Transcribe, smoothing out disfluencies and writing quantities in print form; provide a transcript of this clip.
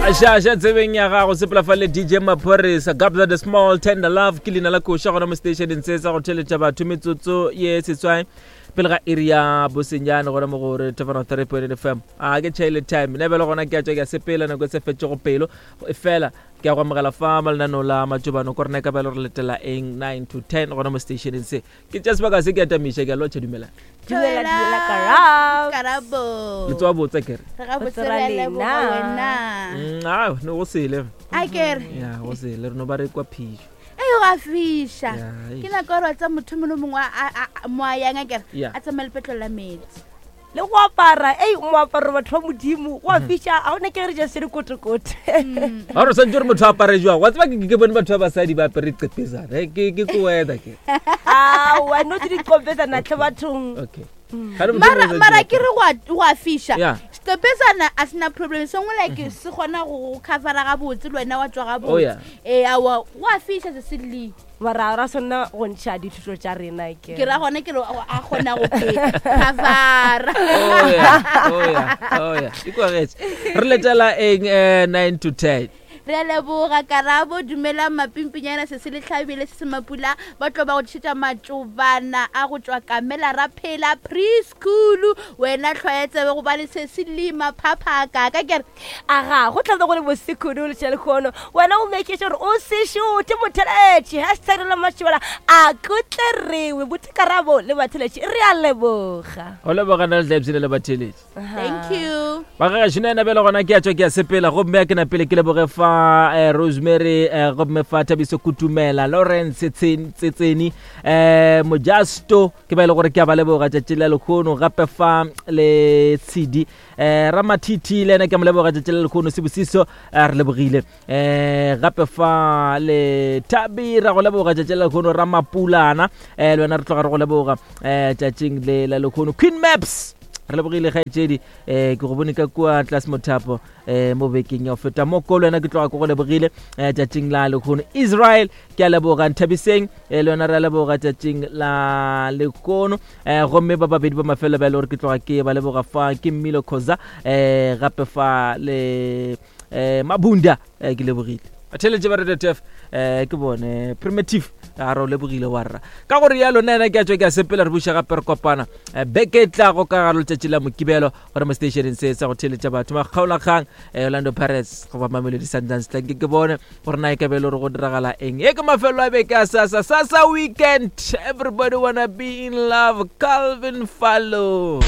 Aša tsebeng ya gago sepela fa le DJ Maphorisa Gabza the Small Tender Love ke leina la koša gona mo stationeng se sa go theletša batho metsotso ye setswai pele ga iri ya bosenyane gona mo go re Tefano 3.8 FM a ke tšhaile time ne bjale gona ke a tšwa ke a sepela nako e se fetšego pelo e fela ke a go amogela fa malenaneo la matšobano ko rena e ka ba e le gore letela eng 9 to 10 gona mo stationeng se ke tša sebaka se ke atamiša ke a lotšha dumelang Dumela, dumela, Karabo. Karabo. le tsoa botsa kere Re ga botse Botse re ra a leboga lena. wena. Ao ne go sele A kere. ya go sele re no ba re kwa phišo Ei go a fiša. Ya, Ke nako ya gore wa tseba motho mongwe le mongwe a- a- a- mo a yang a kere Ya. a tsamaye lepetlelo la metsi. Le go apara, ei moaparo batho ba Modimo, go a fiša, ga o nyake re ja se dikotekote. Ga gore swantse gore motho a apare jwang wa tseba ke ke bone batho ba basadi ba apere qepezana Eh, ke ke ko weather ke Aowa, no tse diqopetsana tlhe bathong. Okay. Ga re motho Mara o mara swantse- ke re go a go a fiša. Yeah. Setopesana a sena problem sengwe like se kgona go go covera gabotse le wena wa tswa Oh, yeah. gabotse. Eh aowa go a fiša se se le. Mara ra swanna go ntšha dithuto tša rena ke. Ke ra gona ke re a kgona go covera. Oh yeah, oh yeah, oh yeah. Ikwagetše. Re letela eng eh 9 to 10. Re a leboga Karabo, dumelang mapimpinyana se se le hlabile se se mapula ba tlo ba go tlišetša matšobana a go tšwa Kamela ra phela preschool wena hlwaya tsebe gobane se se lima phaphaka ka kere Aga, go tla be go le bose kudu letša lehono. Wena o make sure o se šuthe motheletši. Hashtag la mašobela a kutle rewe. Buti Karabo le batheletši re a leboga. Go leboga nna le tla ipshina le batheletši. Thank you. Bagešo nna bjale gona ke a tšwa ke a sepela gomme a ke na pele ke leboge fa eh, Rosemary eh, gomme fa Thabiso Kutumela Lawrence Tsetseni eh, Mojasto ke ba e le gore ke a ba leboga tšatši la lekgono gape fa le Tshidi eh Ramathithi le ena ke mo leboga tšatši la lekgono Sebosiso eh, re lebogile eh gape fa le Thabi ra go leboga tšatši la lekgono Ramapulana eh le wena re tloga re go leboga eh tšatšing le la lekgono Queen Maps re lebogile kgaetšedi um ke go bone ka kua tlase mothapo um mo bekeng ya go feta mo ko le wena ke tloga ke go lebogile um tšatšing la lekgono Israel Ke a leboga Nthabiseng, eh, le yona re a leboga tšatšing la lekono. Eh, gomme ba babedi ba mafelo ba e le gore ke tloga ke ba leboga fa ke Mmilo Khoza eh, gape fa le eh, Mabunda eh, ke lebogile. Batheeletše ba Radio Turf eh, ke bone primitive a re o lebogile wa rra ka gore yalo nna ena ke a tšwa ke a sepela re buša gape re kopana eh, beke e tlago ka gare letšatši la mokibelo gore mo stationeng se sa go theeletša batho makgaolakgang eh, Orlando Pirates goba Mamelodi Sundowns tla ke ke bone gore na e ka be e le gore go diragala eng e ke mafelo a beke a sasa sasa weekend everybody wanna be in love Calvin Fallow.